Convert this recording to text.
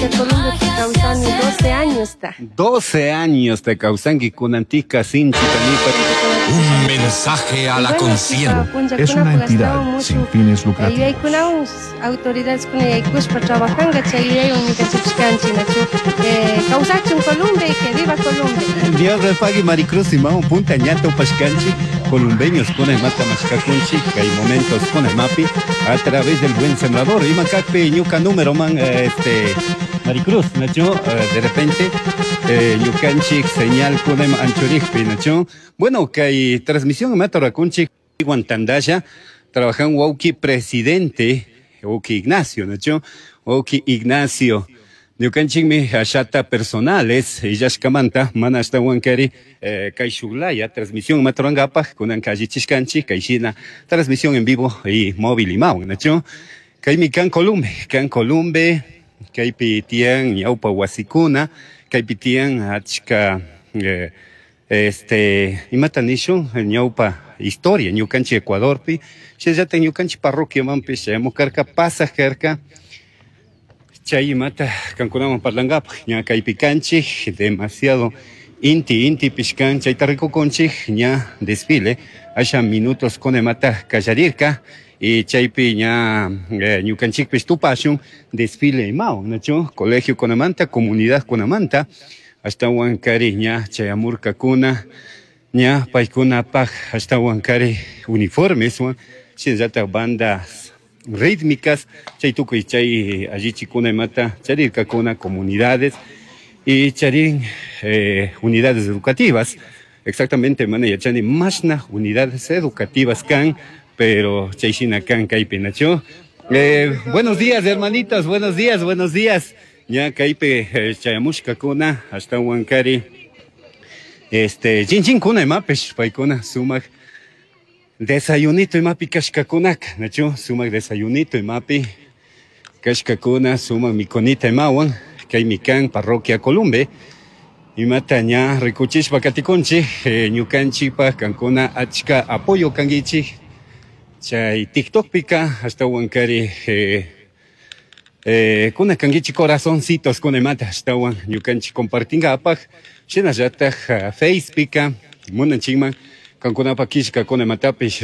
Ñuka Columbepi kawsani 12 añosta. 12 años te kawsanki kunantika sinchi tanipa. Un mensaje a la conciencia. Es una entidad sin fines lucrativos. Yuyaykunawan autoridadeskuna yaykushpa trabajanka chay yuyaywan ñukanchikpish kanchik nachu kawsachun Columbe y que viva Columbe. Dios le pague, Maricruz imawan punta ña tupashkanchik columbeños kuna imata mashkakunchik kay momentos kuna imapi a través del Buen Sembrador. Ima kakpi ñuka número man, Maricruz, nachu, de repente ñukanchik señal kuna ima anchurikpi, nachu. Bueno, kay transmisión imata rurakunchik tandalla trabajan wawki presidente wawki Ignacio, nachu, wawki Ignacio. Ñukanchikmi ashata personales illashkamanta mana ashtawan kari kay shuklaya transmisión maturankapak kunanka allichishkanchik kay shina transmisión en vivo y móvil imawan, nachu. Kaymi kan Columbe, kan Columbe, kaypi tiyan ñawpa wasikuna, kaypi tiyan achka imata nishun ñawpa historia ñukanchik Ecuadorpi, shinallatak ñukanchik parroquiamanpish chayamukarka pasaj karka. Chay imata kankunawan parlankapak ña kaypi kanchik demasiado inti inti pishkan chayta rikukunchik ña desfile asha minutos kuna imata kallarirka y chaypi ña ñukanchikpish tupashun desfile imawan, nachu, colegio kunamanta, comunidad kunamanta ashtawan kari ña chayamurkakuna ña paykunapaj ashtawan kari uniformeswan shinallatak bandas rítmicas chay tukuy chay allichikuna imata charirkakuna comunidades y charin unidades educativas. Exactamente mana yachani mashna unidades educativas kan, pero chay shina kan kaypi, nachu. Buenos días, hermanitos, buenos días, buenos días. Ña kaypi chayamushkakuna ashtawan kari chinchinkuna imapish paykuna sumak desayunito imapi kashkakunaka, nachu, sumak desayunito imapi kashkakuna sumak mikunita imawan kaymi kan parroquia Columbe imata ña rikuchishpa katikunchik ñukanchikpak kankuna achka apoyo kankichik chay TikTokpika ashtawan kari kuna kankichik corazoncitos kuna imata ashtawan ñukanchik compartinkapak shinallatak Facepika munanchikman kankunapak killkakuna imatapish.